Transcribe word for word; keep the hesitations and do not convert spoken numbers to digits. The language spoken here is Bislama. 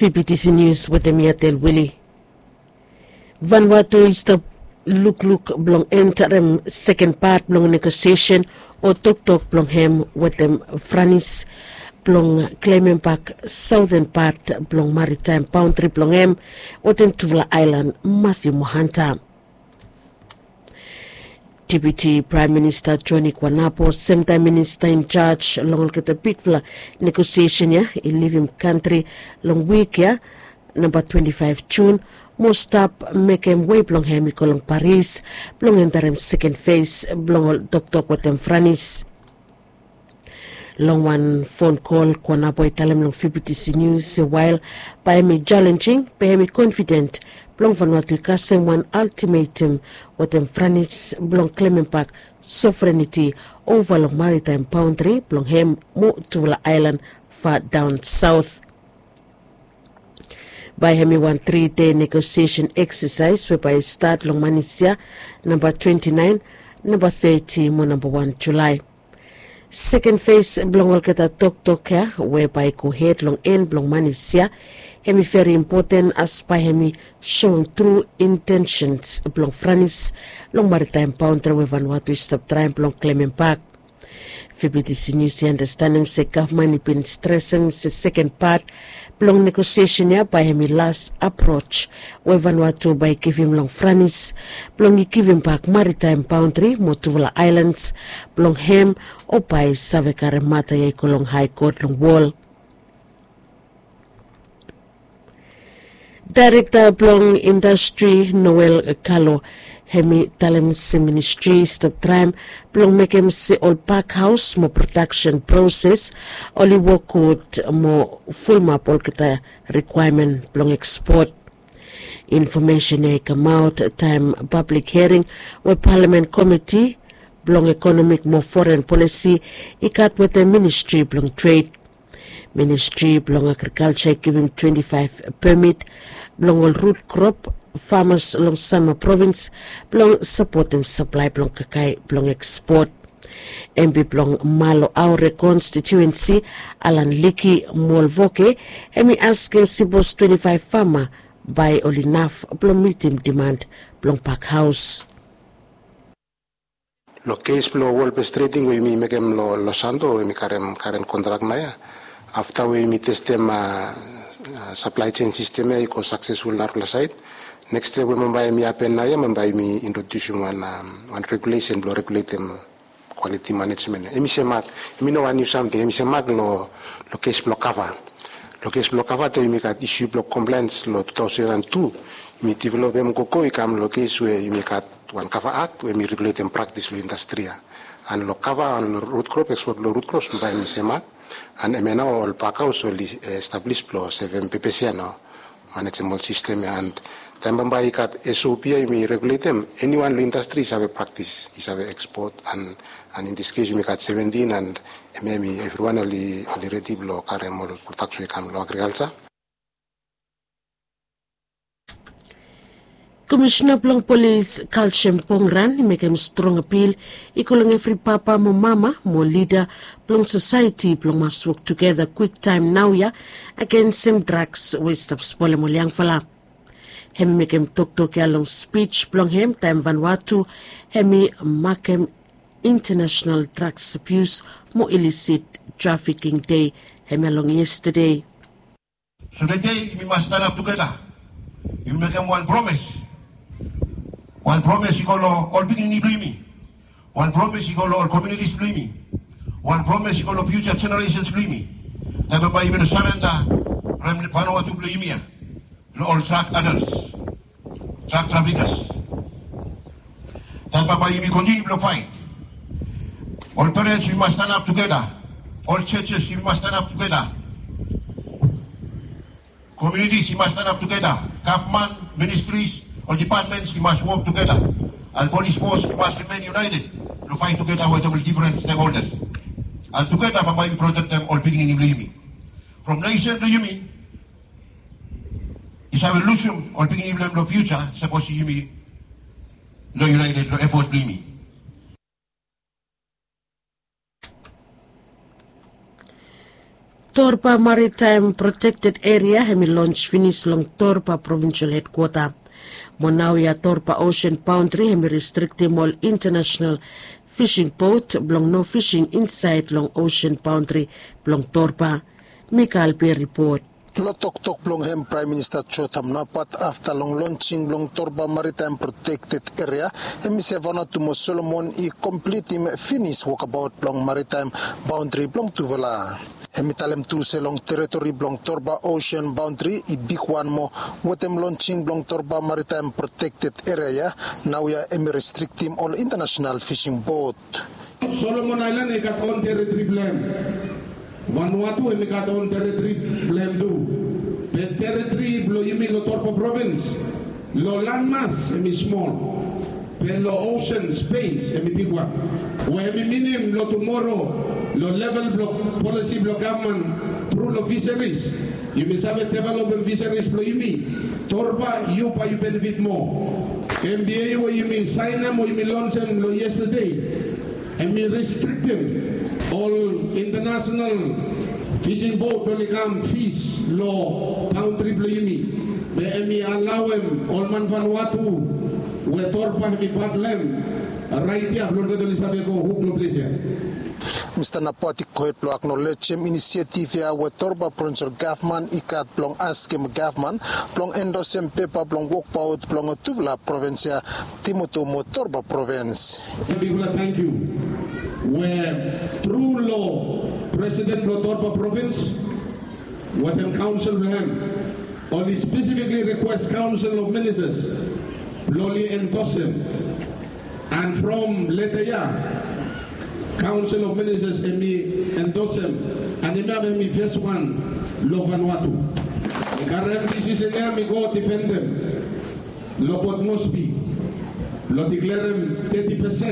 Fibitisi nius wetem yatel wili. Vanwatu i stap lukluk blong entarem seken pat blong negosiesen o toktok blong hem wetem franis blong klemem bak saoten pat blong maritaem baontri blong hem wetem tufala aelan, Matthew Mohanta. Deputi Praem Minista Joni Kuanapo, semtaem minista injaj long olgeta bigfala negosiesen ya, i livim kantri long wik ya, namba twenti faef Jun, mo stap mekem wei blong hem i go long Paris blong entarem seken fes blong ol toktok wetem franis. Long wan fon kol Kuanapo i talem long Fibitisi Nius se wael bae hem i jalenjing, be hem i konfiden blong Vanwatu i kasem wan altimetem wetem franis blong klemem bak sovreniti ova long maritaem baontri blong hem mo tufala aelan fadaon saot. Bae hem i wan tri dei negosiesen eksasaes we bae i stat long manis ya, namba twenti naen, namba teti mo namba wan Julae. Seken fes blong olgeta toktok ya we bae i gohed long en blong manis ya, hem i veri impoten as bae hem i soem tru intensens blong franis long maritaem baontri we Vanwatu i stap traem blong klemem bak. Fibitisi Nius i andastanem se gavman i bin stresem se seken pat blong negosiesen ya bae hem i las aproj we Vanwatu bae i givim long franis blong i givim bak maritaem baontri mo tufala aelans blong hem, o bae i save karem mata ya i go long hae kot long wol. Daerekta blong indastri Noel Kalo, hem i talem se ministri i stap traem blong mekem se ol pak haos mo prodaksen proses oli wok gud mo fulumap olgeta rikwaemen blong ekspot. Infomesen ya i kamaot taem pablik hiaring we palamen komiti blong ekonomik mo foren polisi i gat wetem ministri blong tred. Ministri blong agrikalja i givim twenti faef pemit blong ol rut krop famas long Sanma provins blong sapotem saplae blong kakae blong ekspot. Empi blong Malo Aore konstitiuensi, Alan Liki Molvoke, hem i askem sipos twenti faef fama bae oli naf blong mitim diman blong pak haos. Long kes blong wol bes treding we yumi mekem long Los Santos we yumi karem karen kontrak naoia, afta we yumi testem saplae sen sistem ya i go saksesful narafala saed, neks step we bambae yumi hapen naoia bambae yumi introdiusim wan regulesen blong reguletem kwaliti manejmen ya. Hem i semak, hem i no wan niu samting, hem i semak long kes blong kava. Long kes blong kava taem yumi gat isu blong komplaens long tu taosen an tu, yumi developem gogo i kam long kes we yumi gat wan kava akt we hem i reguletem praktis blong indastri ya. An long kava an long rut krop, ekspot blong rut krop bambae hem i semak. An hemia nao ol pak haos oli establis blong sevem pepes ya nao, manejem ol sistem ya. An taem bambae i gat S O P ya yumi reguletem, eniwan long indastri i save praktis, i save ekspot. An in dis kes yumi gat seventin an hemia hem i evriwan oli redi blong karem ol prodaks we i kam long agrikalja. Komisina blong polis Kalsem Pongran i mekem strong apil i go long evri papa mo mama mo lida blong sosaeti blong mas wok tugeta kwiktaem naoia agensem draks we i stap spolem ol yangfala. Hem i mekem toktok ya long spij blong hem taem Vanwatu hem i makem International Drugs Abuse mo Illicit Trafficking Day, hemia long yestade. So tede yumi mas stanap tugeta. Yumi mekem wan promes. Wan promes i go long ol pikinini blong yumi. Wan promes i go long ol komunitis blong yumi. Wan promes i go long fiuja jeneresens blong yumi. Taem bambae yumi no sarenda from Vanwatu blong yumi ya long ol drag adels, drag trafikas. Taem bambae yumi kontiniu blong faet. Ol perens yumi mas stanap tugeta. Ol jejes yumi mas stanap tugeta. Komunitis i mas stanap tugeta. Gavman, ministris, ol dipatmens i mas wok tugeta. An polis fos i mas rimen yunaeted blong faet tugeta wetem ol difren stekholdas. An tugeta bambae yumi protektem ol pikinini blong yumi. From nesen blong yumi i save lusum ol pikinini blong hem long fiuja sapos yumi no yunaeted long efot blong yumi. Torba Maritime Protected Area hemi lons finis long Torba Provincial Headquarter. Mo naoia Torba Ocean Boundary hemi restriktim ol international fishing boat blong no fishing insaed long ocean boundary blong Torba. Mikael Berry Port. Long toktok blong hem, Praem Minista Jotham Napat, afta long lonsing blong Torba Maritime Protected Area, hem i se Vanuatu mo Solomon i komplitim finis wokabaot blong maritaem baondri blong tufala. Hem i talem tu se long teritori blong Torba Ocean Boundary i bigwan moa wetem lonsing blong Torba Maritime Protected Area ya, naoia hem i restriktim ol international fishing boat. Solomon Aelan i gat on teritori blong hem. Vanuatu hem i gat on teritori blong hem tu. Be teritori blong yumi long Torba Provins, long lanmas hem i smol, be long osen spes hem i bigwan. We hem i minim long tumoro, long level blong polisi blong gavman tru long fisaris, yumi save developem fisaris blong yumi. Torba, yu bae yu benefit moa. Hem be we yumi saenem o yumi lonsem long yestade, hem i restriktim ol international fishing boat oli kam fis long baondri blong yumi. Be hem i alaoem ol man Vanuatu we Torba hem i pat blong hem raet ya blong olgeta oli save go huk long ples ya. Mista Napat i gohed blong aknolejem inisiativ ya we Torba Provinsel Gavman i gat blong askem gavman blong endosem pepa blong wokbaot blong tufala provins ya, Timoto mo Torba Provins. Bigfala tangkiu we tru long Presiden blong Torba Provins wetem kaonsel blong hem, oli spesifikli rikwes Kaonsel of Ministas blong oli endosem. And from leta ya, Kaonsel of Ministas hem i endosem, and hemia hem i fes wan long Vanuatu. Karem disisen ya mi go difendem long Port Moresby blong diklerem teti pesen